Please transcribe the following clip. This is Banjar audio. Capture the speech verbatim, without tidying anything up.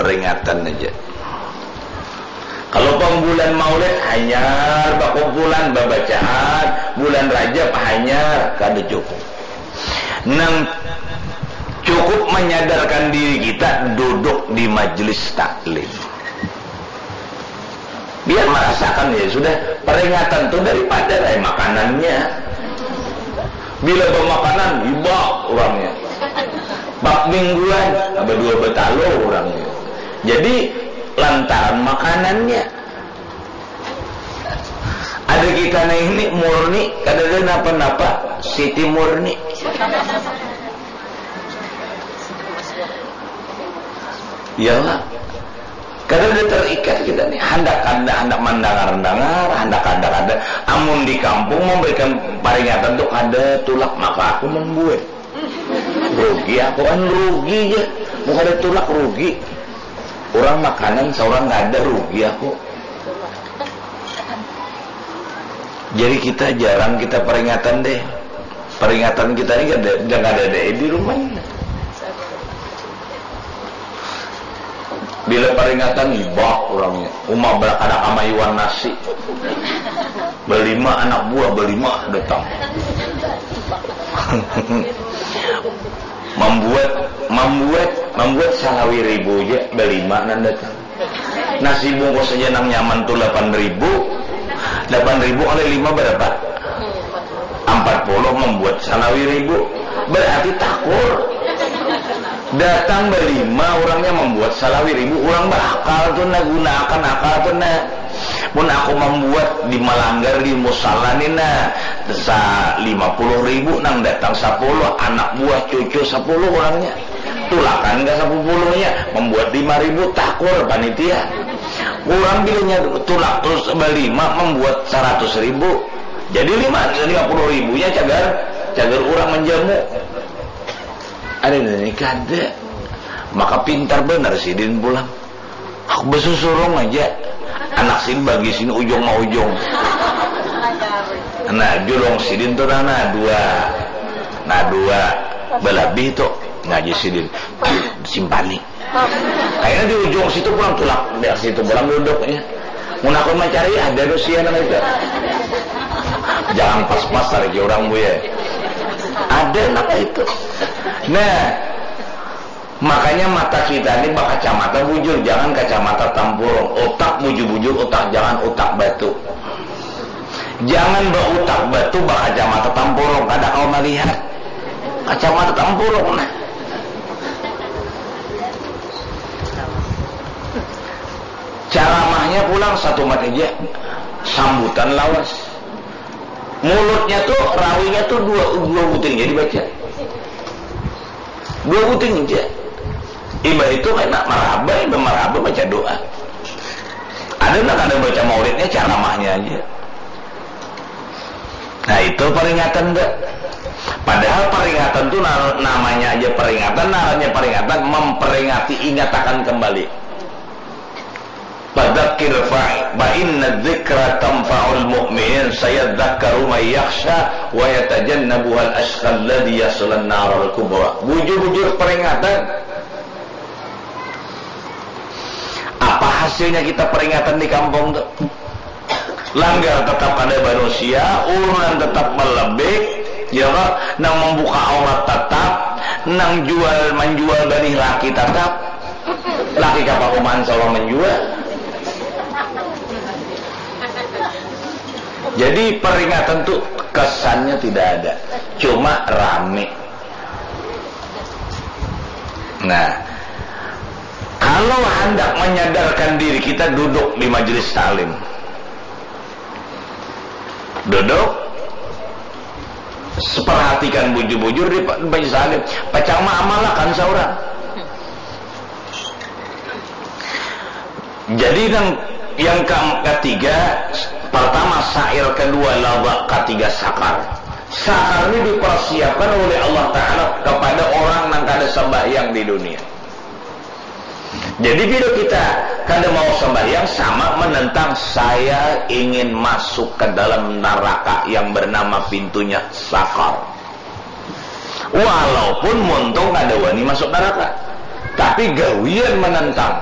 Peringatan aja. Kalau pang bulan Maulid hanyar bakumpulan babacaan, bulan Rajab hanyar, kada cukup. Nang cukup menyadarkan diri kita duduk di majelis taklim. Biar merasakan, ya sudah, peringatan tuh daripada, eh, makanannya. Bila bamakanan, hibak urangnya. Bak mingguan, abah dua batalo urangnya. Jadi, lantaran makanannya. Ada kita nah ini murni, kada ada napa-napa, Siti Murni. Iyalah. Kada ada terikat kita nih. Handak kada, handak mandangar-dangar, handak kada, kada. Amun di kampung memberikan peringatan tuh kada tulak, maka aku membuat. Rugi aku kan, rugi ya. Mau kada tulak, rugi. Orang makanan seorang kada, rugi aku. Jadi kita jarang kita peringatan deh. Peringatan kita ini kada, jangan ada deh di rumah ini. Bila peringatan, hibak urangnya. Uma kada kamayuan nasi. Balima anak buah, balima datang. Membuat, membuat, membuat salawi ribu aja, balima nang datang. Nasi bungkus aja nang nyaman tuh lapan ribu. Lapan ribu kali lima berapa? Empat puluh, membuat salawi ribu. Berarti takur. Datang balima, urangnya membuat salawi ribu. Urang berakal tuh nah, gunakan akal tuh nah. Mun aku membuat di Malanggar di musala ni nah, sa lima puluh ribu, nang datang sepuluh, anak buah cucu sepuluh urangnya. Tulakan ka sepuluhnya, membuat lima ribu, takur panitia. Urang bilanya tulak terus balima membuat seratus ribu. Jadi lima, lima puluh ribunya cagar, cagar urang menjamu. Ada ini kada. Maka pintar benar sidin pulang. Aku besusurung aja. Anak sini bagi sini ujung mau ujung. Nah, julung sidin tuh nah, nah dua. Nah, dua. Belebih tuh. Ngaji sidin. Aduh, simpani. Kayaknya di ujung situ pulang tulak. Biar situ pulang duduknya. Mun aku mencari ada dosia nama itu. Jangan pas-pas lagi orang, Bu, ya. Ada nama itu. Nah, makanya mata kita ini bakacamata bujur, jangan kacamata tampurung. Otak bujur-bujur, otak jangan otak batu. Jangan bautak batu bakacamata tampurung, kada kau melihat. Kacamata tampurung, nah. Caramahnya pulang satu mat aja, sambutan lawas. Mulutnya tuh, rawinya tuh dua, dua buting jadi baca. Dua buting aja. Imbah itu kena marhaba, imbah marhaba baca doa. Ada nang kada baca maulidnya, caramahnya aja. Nah, itu peringatan, Mbak. Padahal peringatan tuh na-, namanya aja peringatan, ngarannya peringatan, memperingati, ingatakan kembali. Fadzakir fa, fa inna dzikra tanfa'ul mu'minin, sayadzakkaru may yakhsha wa yatajannabuhal asyqa alladzi yaslan naral kubra. Bujur-bujur peringatan. Apa hasilnya kita peringatan di kampung tuh? Langgar tetap ada manusia, urunan tetap melebih, ya kah? Nang membuka aurat tetap, nang jual menjual benih laki tetap. Laki kapahuman seorang menjual. Jadi peringatan tuh kesannya tidak ada, cuma rame. Nah, kalau hendak menyadarkan diri kita duduk di majelis taklim, duduk, perhatikan bujur-bujur di majelis taklim, pacang maamalakan seorang. Jadi yang, yang ke-, ketiga, pertama sa'ir, kedua laba, ketiga sakar. Sakar ini dipersiapkan oleh Allah Ta'ala kepada orang yang kada sembahyang di dunia. Jadi bila kita kada mau sembahyang, sama menentang saya ingin masuk ke dalam neraka yang bernama pintunya sakar. Walaupun muntung kada wani masuk neraka, tapi gawian menentang